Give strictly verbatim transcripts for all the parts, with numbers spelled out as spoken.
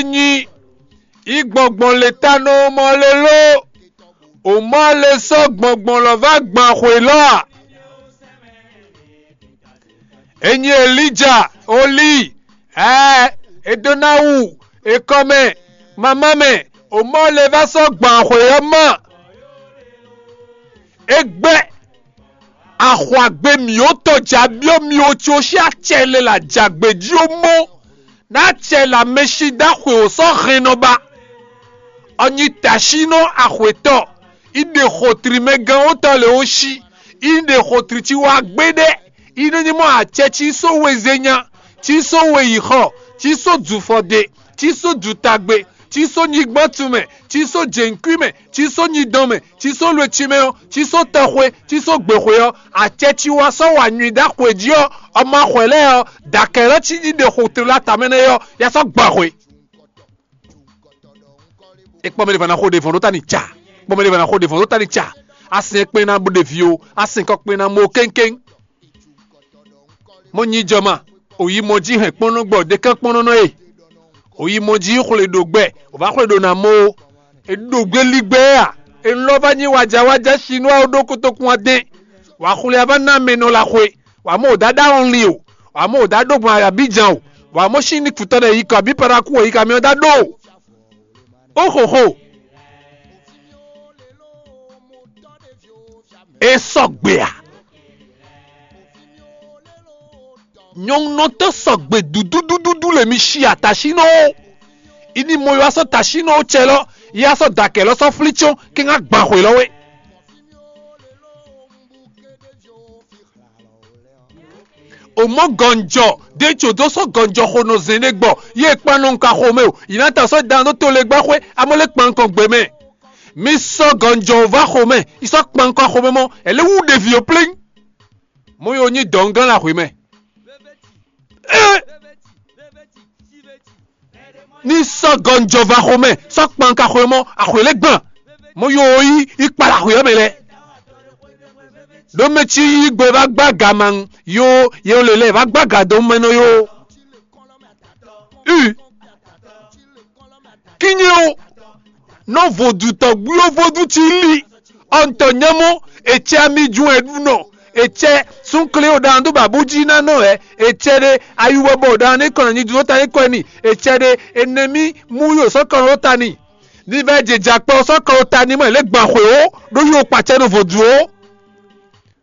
Nyi yí gbɔngbɔn le ta nɔ mɔ le ló? O mɔ le sɔ́ gbɔngbɔn lɔ vá gban xwě lɔ a? E nyi Elija, Oli, ɛɛ, e dó ná wu, e kɔ mɛ, mamá mɛ, o mɔ le vá sɔ́ gban xwě ɔ́ mɔ. É gbɛ́ axwagbe mǐ ó tɔn jǎ byɔ́ mi ó, có xí acɛ lɛ́ɛ la jǎgbe jí ó mɔ. Ná acɛ lɛ́ɛ mɛ sí dó axwe ó sɔ́ hɛn nɔ ba. Ɔ nyi taṣínɔ axwetɔ, í ɖe xotri mɛ gán ó tɔ lě ó sí, í ɖe xotri cí wá gbé ɖɛ́, í nɔ nyí mɔ acɛ cí só wezenya, cí só weyǐxɔ, cí só dufɔde, cí só dutagbe, cí só nyigbɔ́ tun mɛ, cí só jěnkwí mɛ, cí só nyidɔn mɛ, cí só lweci mɛ ɔ́, cí só tɔxwe, cí só gběxwe ɔ́, acɛ cí wá sɔ́ wa nyui ɖó axwe jí ɔ́, ɔmɔ axwɛ lɛ́ɛ ɔ́, dǎkɛ́lɔ́ cí ní ɖe xotri lɔ atamɛ nɛ́ ɔ́, ya sɔ́ gbɔ axwe. E kpɔ́ mɛ ɖé va ná xo ɖe vɔn ɖó ta ni ca. Kpɔ́ mɛ ɖé va ná xo ɖe vɔn ɖó ta ni ca. Asɛn kpɛn ná bó ɖe vi o, asɛn kɔ kpɛn ná mɔ kéŋkéŋ. Mɔ nyi jɔ ma, o yi mɔ jí hɛn kpɔ́nɔ́ gbɔ ɖekán kpɔ́nɔ́ nɔ e. O yi mɔ jí xwle ɖo gbɛ, o va xwle ɖo ná mɔ o. E ɖo gbé lí gbɛ a? E lɔ va nyi wájawájá sinúa ɖó kotokun adɛn. Wǎ xwle a va ná mɛ nɔ la xwe. Wǎ mɔ o dá ɖá ɔnlin o. Wǎ mɔ o dá ɖó gbɔn Abidjan o. Wǎ mɔ sín ní kutɔ́ ɖe yi kɔ abí paraku o yi ka mɛ ɔ́ dá ɖó o. Ó xo xo. E sɔgbe a? Nyɔnunɔtɔ́ sɔgbe dududududú le mi si atasínɔ ó. Ini mo yɔ asɔ tasínɔ ó cɛ lɔ, yɛ asɔ dakɛ lɔ sɔ flí tsɔn kí ŋá gban xwe lɔ wé. O mɔ gɔnjɔ ɖe tso dó sɔ gɔnjɔ xo nɔ zɛn ɖe gbɔ, yɛ kpan nɔ nka xomɛ o, yi ná ta sɔ dan dó to le gbá xwé, amɔ le kpan kɔn gbe mɛ. Mi sɔ gɔnjɔ va xomɛ, yi sɔ kpan kɔn xomɛ mɔ, ɛlɛ wú ɖevi o plɛ́n. Mɔ yo nyi dɔngán la xwé mɛ. Ní sɔ́ gɔnjɔ va xomɛ, sɔ́ kpanka xwemɔ axwě lɛ́ɛ gban. Mɔ yo yí yi kpala xwě ɔ́ mɛ lɛ́ɛ. Ɖó mɛ cí yí gbe va gbá ga ma, yo ye lě lɛ́ɛ va gbá ga dó mɛ nɔ yo. U kínnyé o, nɔ vodutɔ gbúyó vodún cí lí. Ɔntɔ nyɛmɔ, etsɛ ami jun ɛɖunɔ, etsɛ súnklé o ɖan dó babú jí ná nɔ wɛ, etsɛ ɖe ayiwɔ bɔ o ɖan ní kɔn nyi dúró ta ní kɔn ni, etsɛ ɖe enɛmí mú yǒ sɔ́ kɔn ɖó ta ni. Ní vɛ́ jɛ jakpɔ sɔ́ kɔn ɖó ta ni mɔ lě gban xwě ó, ɖó yó kpacɛ nɔ vodún ó.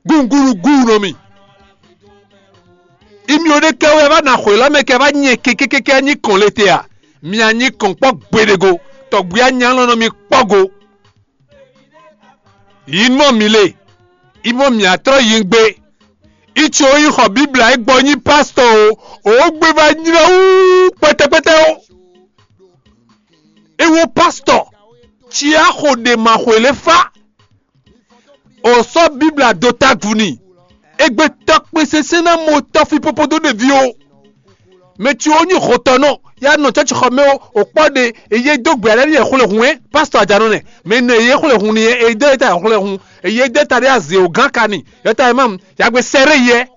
Gúngúnú gúnu nɔ mi. Imi o ɖe kɛ wɛ va na xwě lɔ mɛ kɛ va nyɛ kekekeke nyi kɔn le te a? Mi a nyi kɔn kpɔ gbeɖego, tɔgbi a nya lɔ nɔ mi kpɔ go. Yi mɔ mi le, yi mɔ mi atrɔ yi gbe. Itso yi xɔ Bibla e gbɔ nyi pastɔ o, o gbe va nylɔ wú kpɛtɛkpɛtɛ o. E wo pastɔ, ci a xo ɖe ma xwe le fa. O sɔ́ Bibla dó tágu n'i. Égbé tɔ́ kpé sésé ná mɔ tɔ́ fí popo dó ɖeví o. Mɛ ce ó nyí hotɔnɔ, ya nɔ cɔ́cixɔ mɛ ó, o kpɔ́ ɖe, e yé dó gbɛ alɛ ní yɛ xwlɛhun ɛ, pásítọ̀ àjǎnɔ nɛ, mɛ nɛ e yé xwlɛhun ni ɛ, e dó e ta xwlɛhun, e yé dó e ta ɖé azě o gán ka ni, yɔta e mam, yagbe sɛ́ ɖé yɛ,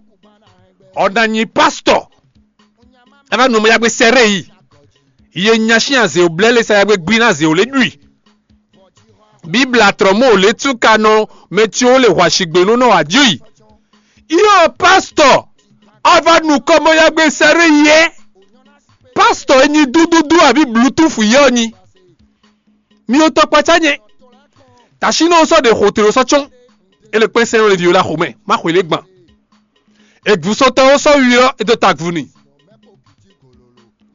ɔ ná nyi pásítọ̀, ɛ va nu mɛ yagbe sɛ́ ɖé yi, yé nya sín azě o blɛ́ lé sa yagbe gbí ná azě o lé ɖui. Bibla trɔ̌ mɔ ò lě tún ka nɔ mɛ ce ó le hwaṣigbe nú nɔ wǎ jí yi. Yɔ pásítọ̀, a va nu kɔmɔyagbe sɛ́ɖé yɛ. Pásítọ̀ e nyi dúdúdú abǐ blutúfu yɛ ɔ́ nyi. Mi ò tɔ kpacá nyɛ. Tǎsínɔ sɔ́ ɖe xotelo sɔ́ cɔ́n. É le kpɛ́n sɛ́n lé vǐ la xomɛ, má xwě lé gban. Ègǔsɔtɔ́ ɔ́ sɔ́ wi ɔ́, é dó tagun n'i.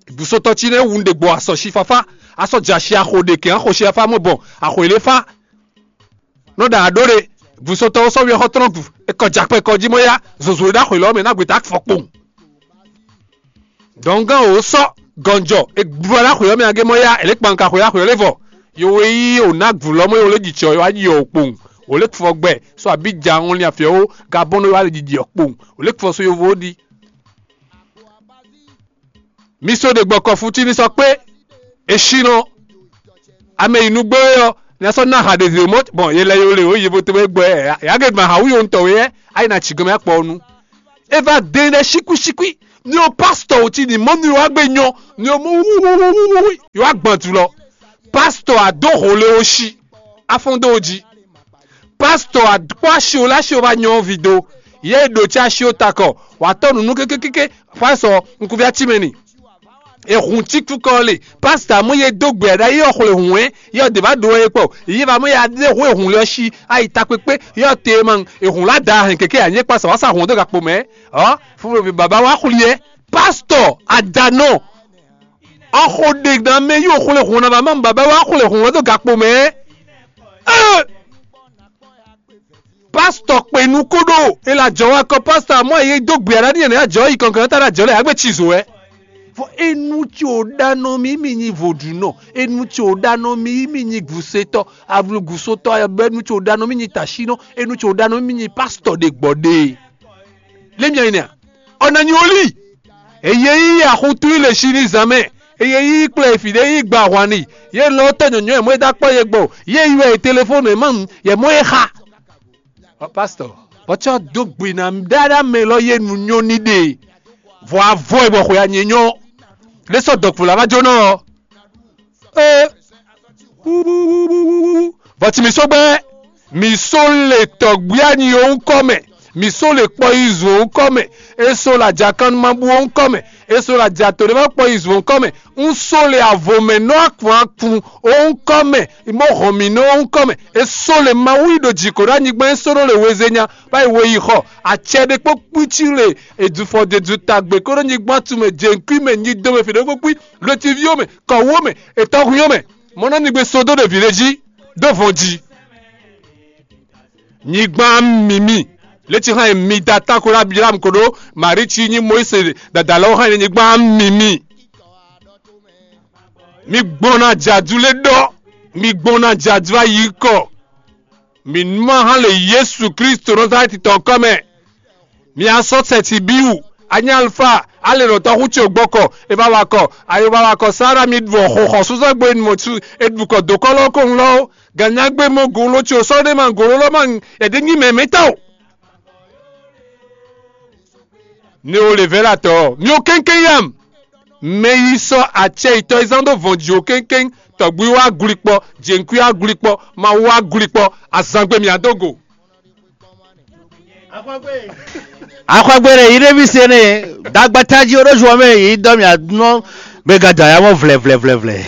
Ègǔsɔtɔ́ cí nɛ́ wǔ ɖě gbɔ asɔ̌ sífáfá, asɔ́ jɛ ashi axo ɖě kɛn axo sífáfá mɔ bɔ axwě lé fá. Nɔ ɖa aɖó ɖe, ègǔsɔtɔ́ ɔ́ sɔ́ wi ɔ́ xɔ tlɔ́n gu, é kɔ jɛ akpɛ kɔ jí mɔ yá, zozo e ɖó axwě lɔ́ mɛ ná gbeta fɔ kpowun. Dɔ̌ngán wǒ sɔ́ gɔnjɔ, è gblu alá xwě ɔ́ mɛ agé mɔ yá, è lě kpan ka xwě axwě ɔ́ lé vɔ. Yo e yí wǒ ná gǔ lɔ́ mɔ yó lé jǐ cɔ, yó wá yi ɔ́ kpowun. Wǒ lé fɔ gbɛ, sɔ́ abǐ ja ɔnlin afyɛ ó, gabɔ́ nɔ yó wá lé jijɛ ɔ́ kpowun. Wǒ lé fɔ so yovo ó ɖi. Mi sɔ́ ɖe gbɔ kɔfútíní sɔ́ kpé, è sí nɔ. Ame yi nǔgbó é ɔ́, nya sɔ́ ná ha ɖě zě mɔ̌ bɔn yě lɛ yó lě ó yi bo tɛ́ gbɔ ɛ yǎ gěgbe ma ha wú yó ŋutɔ wé ɛ, á yi ná ci gɔmɛ akpɔ ɔ́ nu. É va dɛn ɖɛ síkwísíkwí, Ni o pastɔ o ci ni mɔ ni o agbe nyɔ ni o mɔ wuwuwuwu yo agbantu lɔ. Pastɔ a do ho le o si afɔn do o ji. Pastɔ a kpɔ asi o la si o va nyɔ vi do. Ye do ci asi o takɔ wa tɔ nunu kekekeke fa sɔ nkuvi ati mɛ ni. Ehun cikú kɔ le pastɔ amɔ ye do gbɛ ɖa ye xwle hun ɛ ye de va do ye kpɔ ye va mɔ ya de ho ehun le si ayi takpekpe ye te man ehun la da hɛn keke anye kpa sa wa sa hun do gakpo mɛ. Ɔ fúnfún baba wa xwli yɛ pastɔ adanɔ. Ɔxo ɖe na mɛ yí òxwlé hun na ba má baba wá xwlé hun wɛ dó gakpo mɛ. Ee, pastɔ kpe nu kó ɖó e la jɔ wá kɔ pastɔ amɔ e dó gbe ara ní ɛnɛ ajɔ yi kɔnkɔn ta ɖe ajɔ lɛ agbe ci zo wɛ. Vɔ enu tsi o ɖa nɔ mí mí nyi vodunɔ, enu tsi o ɖa nɔ mí mí nyi gusotɔ, avlugusotɔ, enu tsi o ɖa nɔ mí nyi tasinɔ, enu tsi o ɖa nɔ mí nyi pastɔ ɖe gbɔ ɖe. Lé mia nyi nɛa? Ɔ na nyi olí. Eye yí axutu yi le si ní zan mɛ. Eye yí kplɔ efi ɖé yí gba ahwan ni. Ye lɔ tɔ nyɔnyɔ yɛ mɔ e da kpɔ ye gbɔ. Ye yi wɛ e telefonu e ma nu yɛ mɔ e xa. Ɔ pastɔ, bɔtsɔ do gbe na ɖaɖa mɛ lɔ ye nu nyɔ ní ɖe. Vɔ avɔ e bɔ xwe anyɛ nyɔ. Ɖe sɔ dɔkpo la va jónɔ ɔ. Ee, vɔ ci mǐ sɔ́ gbɛ́, mǐ sɔ́ le tɔ̌gbí anyi ɔ́ ŋkɔ mɛ, mǐ sɔ́ le kpɔyizun ɔ́ ŋkɔ mɛ, é sɔ́ le ajakannumabú ɔ́ ŋkɔ mɛ, é sɔ́ le ajato ɖé ma kpɔyizun ɔ́ ŋkɔ mɛ, un sɔ́ le avɔmɛnɔ akun akun ɔ́ ŋkɔ mɛ, bó hɔn mǐ nɔ ɔ́ ŋkɔ mɛ, é sɔ́ le Mawu yi ɖo jǐ kó ɖo anyigba é sɔ́ nɔ le wezenya, bá yi we yi xɔ, acɛ ɖé kpó kpící le, èdùfɔ dèdù tagbe kó ɖo nyigban tu mɛ, jěŋkwi mɛ, nyido mɛ, fǐɖékpókpí, lwetiví ɔ́ mɛ, kɔ̌wú ɔ́ mɛ, ètɔ́hwín ɔ́ mɛ, mɔ nɔ nigbe sodó ɖe vǐ ɖé jí, dó vɔn jí. Nyigban mǐmí, létí hán e mi da táko ɖo Abiyalamu ko ɖó Maríci nyí Mɔyíse dada lɛ́ɛ hán e nyigban mǐmí. Mi gbɔn ná jadu lé ɖɔ, mi gbɔn ná jadu ayikɔ. Mi nú ma hán le Yesu Kristo Nazalɛ́ti tɔn kɔ mɛ. Mi asɔ sɛti biwu, a nyí Alifa, a le nɔ tɔxú ce gbɔkɔ, e va wa kɔ, ayo va wa kɔ Sara mi ɖu xɔ xɔ suzɔgbe nu mɔ su e ɖu kɔ do kɔlɔ ko ŋlɔ o. Ganyagbe mɔ golo ce o sɔ ɖe ma golo lɔ ma e ɖe nyi mɛ mɛ ta o. Ne o le vɛ la tɔ, mi o kɛnkɛn yam. Mɛ yi sɔ acɛ yitɔ yi zan do vɔn ji o kɛnkɛn, tɔgbi wa glikpɔ, jenkwi wa glikpɔ, ma wa glikpɔ, azangbe mi adogo. Axɔgbe ɖe yi ɖe mi se ne dagbata ji o ɖo zuɔ mɛ yi dɔ mi anɔ be gada ya mɔ vlɛ vlɛ vlɛ vlɛ.